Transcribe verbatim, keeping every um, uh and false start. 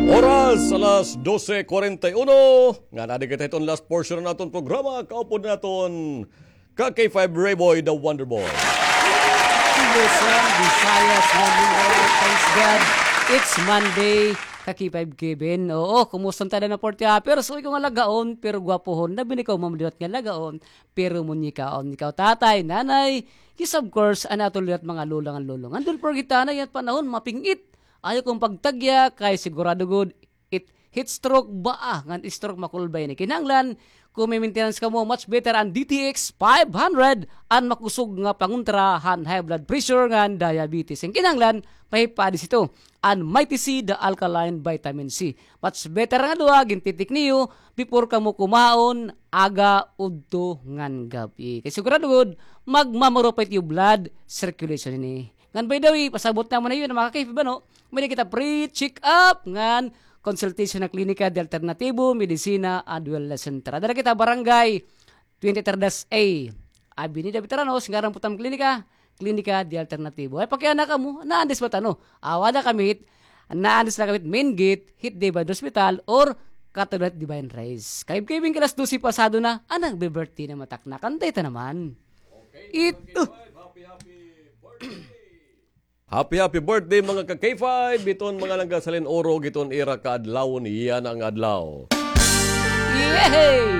Oras, alas dose kwarenta y uno. Ngan adi kita hiton last portion han aton programa. Kaupod naton ka K five Rayboy, the Wonder Boy. Luzon, Visayas, Mindanao, thanks God, it's Monday, ka K five Kevin. Oo, kumusta ta na forty happer? So, ikaw nga lagaon, pero gwapohon. Labi na ikaw, mamaliwat nga lagaon, pero munyikaon. Ikaw, tatay, nanay, yes, of course, an aton liwat mga lolo ngan lolo. Ngan don't forget, tanay, an panahon, maping-it. Ayaw kon pagtagya, kay sigurado gud, it heat stroke ba, ah, ngan stroke makulbay ini. Kinahanglan, kon may maintenance kamo, much better an D T X five hundred, an makusog nga pangontra han high blood pressure ngan diabetes. An kinahanglan, mahipaadi hito, an Mighty C, the alkaline vitamin C. Much better nga duha, gintitik niyo, before kamo kumaon, aga, udto, ngan gab-i. Kay sigurado gud, magmamarupay it iyo blood circulation ini. Ngan by the way, pasabot namon ha iyo, mga ka-K five, ano, may-ada kita free check-up ngan consultation ha Klinika de Alternatibo, Medisina and Wellness Center. Ada la kita Barangay twenty-three dash A, Avenida Veteranos, ngaran putam klinika, Klinika de Alternatibo. Ay, pakiana kamo, naandis ba tano? Aw, ada kami hit, naandis na kami hit main gate, hit Divine Hospital, or katabi hit Divine Rise. Kay Kevin, alas dose pasado na, an nagbe-birthday na matakna. Kanta ita naman. It, uh. Happy, happy birthday, mga ka-K five, hiton mga nanggasalin-urog hiton ira kaadlawon yana nga adlaw. Yehey!